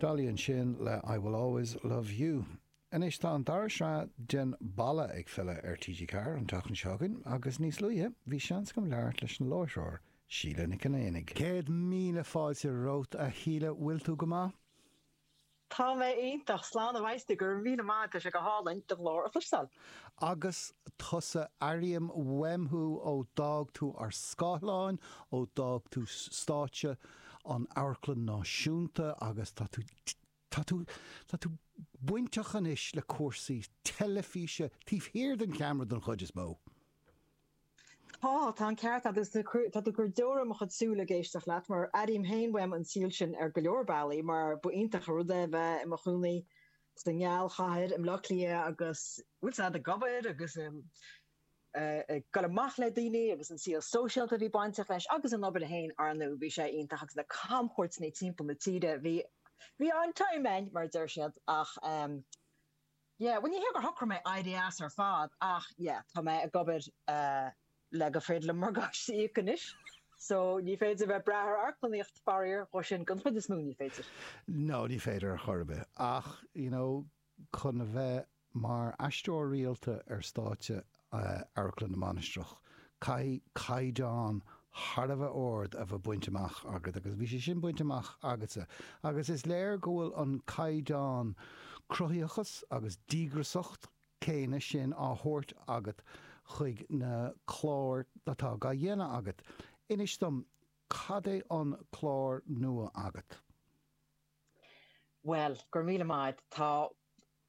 Dolly ansin le I Will Always Love You. Anois tá an dara sraith den Balla ag filleadh ar TG4 an tseachtain seo chugainn agus níos luaithe bhí seans agam labhairt leis an láithreoir, Síle Nic an Éanaigh. 100,000 fáilte romhat a Shíle, bhfuil tú go maith? Tá mé iontach, slán a bheas tú, go raibh míle maith, tá sé go hálainn do ghlór a chloisteáil. Agus tusa, airím uaim thú ó d'fhág tú ár scáileáin, ó d'fhág tú stáitse an Amharclann Náisiúnta agus tá tú, tá tú, tá tú bainteach anois le cúrsaí teilifíse taobh thiar den cheamara den chuid is mó. Tá, tá an ceart agat agus tá tú ag cur deora i mo chuid súl ag éisteacht leat mar airím féin uaim an saol sin ar go leor bealaí mar ba iontach an rud é bheith i mo chónaí sa ngealchathair i mBleá Cliath agus bhfuil 's a'd ag obair agus ag dul amach le daoine agus an saol sóisialta a bhí bainteach leis agus an obair féin ar ndóigh bhí sé iontach agus na camchuairteanna timpeall na tíre bhí bhí an-time againn mar a deir siad ach Yeah, bhuel ní hé gur shocraigh mé éirí as ar fad ach yeah, tá mé ag obair le gur féidir liom morgáiste a íoc anois so ní féidir bheith ag brath ar amharclannaíocht faraor, dhó sin den chuid is mó ní féidir. No, ní féidir ar chor ar bith ach you know chun a bheith mar aisteoir rialta ar stáitse Amharclann na Mainistreach caithfidh caighdeán thar a bheith ard a bheith bainte amach agat agus bhí sé sin bainte amach agatsa agus is léir go bhfuil an caighdeán cruthaitheachas agus díograsacht céanna sin á thabhairt agat chuig na cláir atá á dhéanamh agat. Inis dom, cad é an clár nua agat? Bhuel, go raibh míle maith agat. Tá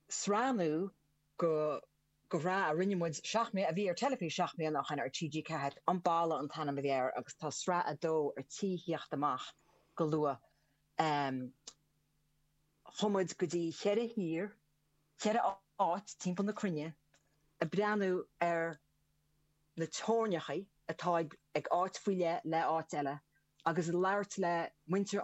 sraith nua go go shraith a rinne muid seacht mbliana, a bhí ar teilifís seacht mbliana ó shin ar TG4, An Balla an t-ainm a bhí air agus tá sraith a dó ar tí theacht amach go luath. Chuaigh muid go dtí cheithre thír, cheithre áit timpeall na cruinne ag breathnú ar na teorainneacha atá ag áit faoi leith le áit eile agus ag labhairt le muintir.